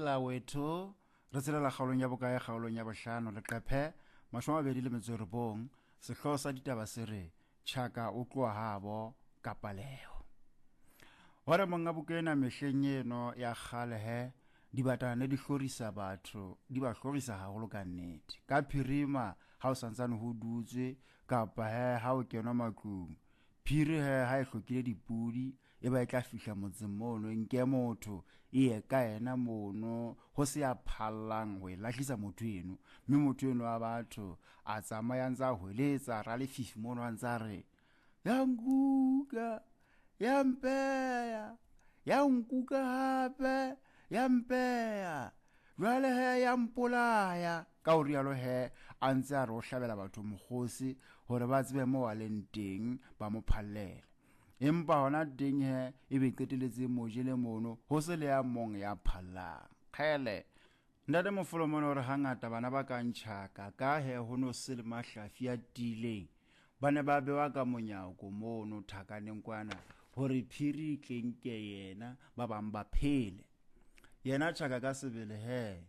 Lawetho re tshelela kgaolong ya bokae kgaolong ya bohlano leqephe 29 sehloho sa ditaba se re Tjhaka o tloha habo ka paleho. Hore monga buka ena mehleng eno ya kgale he dibatana ne di hlorisa batho di ba hlorisa haholo ka nnete ka phirima ha o santsane ho dutswe kapa he ha o kenwa matlung phiri he ha e hlokile dipudi e ba e tla fihla motseng mono e nke motho e ye ka yena mono ho se ya phallang ho e lahlisa motho eno mme motho eno wa batho a tsamaya ntse a hweletsa ra lefifi mono a ntse a re ya nkuka ya mpeya ya nkuka hape ya mpeya jwale he ya mpolaya ka o rialo he a ntse a re o hlabela batho mokgosi gore ba tsebe mo a leng teng ba mo phallele empa hona teng he e be qeteletse mo jele mono ho se le ya mong ya phallang kgele ntate mofolo mona gore hangata bana ba ka ntšhaka ka he ho no se le mahlafi a tiileng ba ne ba bewa ka monyako mono thakaneng kwana gore phiri e tleng ke yena ba bang ba phele yena tšhaka ka sebele he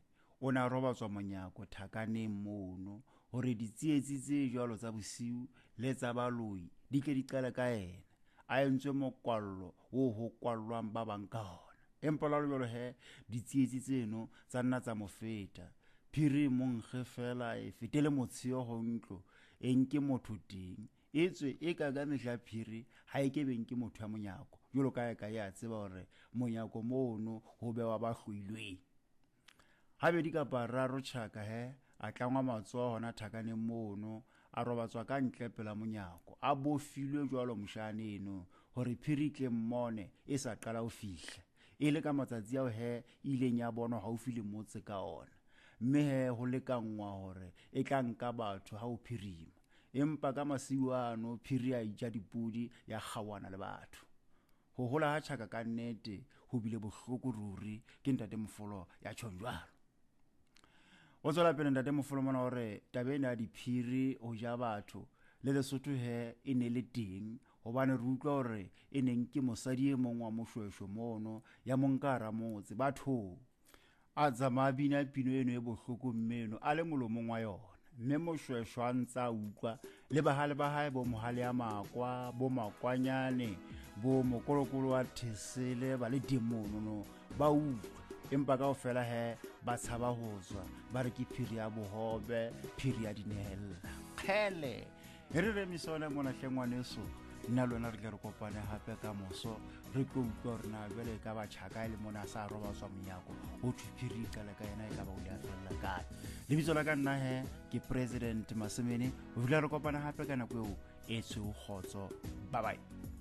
o ne a robatswa monyako thakaneng mono gore ditsietsi tse jwalo tsa bosiu le tsa baloi di tle di qale ka yena a entswe mokwallo wo ho kwallwang ba bang ka ona empa la jwalo he ditsietsi tseno tsa nna tsa mo feta phiri monkge fela e fetele motsheo go ntlo e nke motho teng e tswe e ka ka mehla phiri ha e ke beng ke motho ya monyako jwalo ka e ka e a tseba gore monyako mono ho bewa ba hloilweng Gabedi kapa raro tšhaka he a tlangwa matsoho hona thakaneng mono a robatswa ka ntle pela monyako a bofilwe jwalo moshane eno gore phiri tle mmone e sa qala ho fihla e le ka matsatsi ao he e ileng ya bonwa haufi le motse ka ona mme he ho lekanngwa hore e tla nka batho ha ho phirima empa ka masiu ano phiri a ija dipudi ya kgaoana le batho Go gola ga tšhaka ka nnete go bile bohloko ruri ke ntate Mofolo ya tšhong jwalo. Go tswela pele ntate Mofolo mona gore taba ena ya diphiri go ja batho le Lesotho he e ne le teng gobane re utlwa gore e neng ke mosadi e mong wa mošwešwe mono ya monka ramotse batho A tsamaya a bina pino eno e bohloko mme eno a le molomong wa yona mme moshweshwa a ntse a utlwa le bahale ba hae bo mohale ya makwa bo makwanyane bo mokolokolo wa thesele ba le teng monono ba utlwa empa kao fela he ba tshaba ho tswa ba re ke phiri ya bohobe phiri ya dinehella kgele e re remise one mona hle ngwaneso nna le wena re tle re kopane gape ka moso re tlo utlwa gore na jale e ka ba tšhaka e le mona a sa robatswa monyako go thwe phiri e qale ka yena e ka ba o le a felela kae lebitso la ka nna he ke President Masemene go fitlha re kopana gape ka nako eo e tshweu kgotso bye bye.